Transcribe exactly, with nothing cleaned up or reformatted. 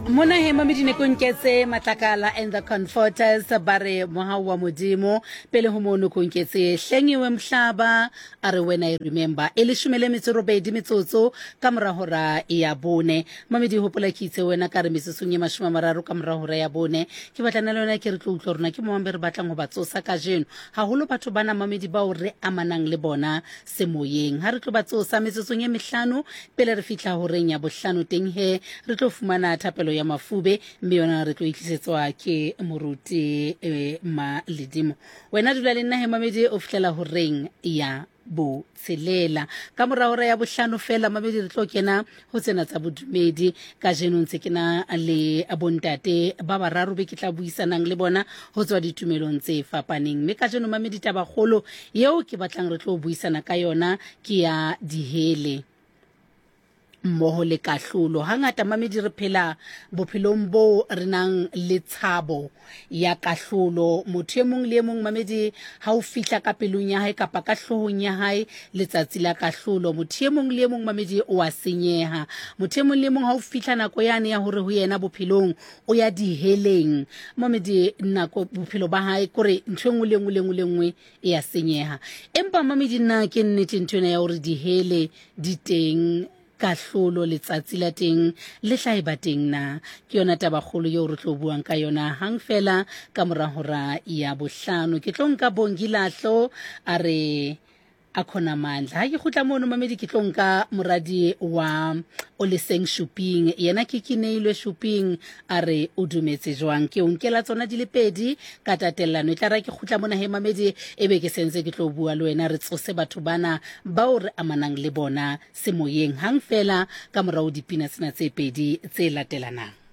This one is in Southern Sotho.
Mona he mamedi ne konketse Matlakala and the Comforters, ba re Mohau wa Modimo. Pele ho mono konketse Hlengiwe Mhlaba, a re When I Remember. E leshome le metso robedi metsotso ka mora hora ya bone. Mamedi, hopola ke itse wena ka re metsotsong e mashome a mararo ka mora hora ya bone ke batlana le wena, ke re tlo utlwa rona ke momambe re batlang ho ba tsosa kajeno, haholo batho bana mamedi bao re amanang le bona semoyeng. Ha re tlo ba tsosa metsotsong e mehlano pele re fihla horeng ya bohlano, teng he re tlo fumana thapelo ya mafube, mme yona re tlo itlisetswa ke moruti eh, Maledimo. Wena dula le nna he mamedi o fihlela horeng ya botshelela. Ka mora hora ya bohlano fela mamedi re tlo kena ho tsena tsa bodumedi. Kajeno ntse ke na le bontate ba bararo be ke tla buisanang le bona ho tswa ditumelong tse fapaneng, mme kajeno mamedi tabakgolo yeo ke batlang re tlo buisana ka yona ke ya dihele mmoho le kahlolo. Hangata mamedi re phela bophelong bo re nang le tshabo ya kahlolo. Motho e mong le e mong mamedi ha o fihla ka pelong ya hae kapa ka hloohong ya hae letsatsi la kahlolo, motho e mong le e mong mamedi o a senyeha. Motho e mong le e mong ha o fihla nako yane ya hore ho yena bophelong o ya diheleng mamedi, nako bophelo ba hae kore ntho e nngwe le nngwe le nngwe le nngwe e ya senyeha. Empa mamedi, nna ke nnete ntho ena ya hore dihele di teng, kahlolo letsatsi la teng le tla e ba teng na? Ke yona tabakgolo eo re tlo buang ka yona hang fela ka mora hora ya bohlano. Ke tlo nka Bongi Lahlo, a re a khona mandla. Ha ke kgutla mono mamedi ke tlo nka moradi wa Oleseng Shuping, yena ke Keneilwe Shuping, a re o dumetse jwang. Ke o nkela tsona di le pedi ka tatellano. E tla ra ke kgutla mona he mamedi e be ke sentse ke tlo bua le wena, re tsose batho bana bao re amanang le bona semoyeng hang fela ka morao dipina tsena tse pedi tse latelanang.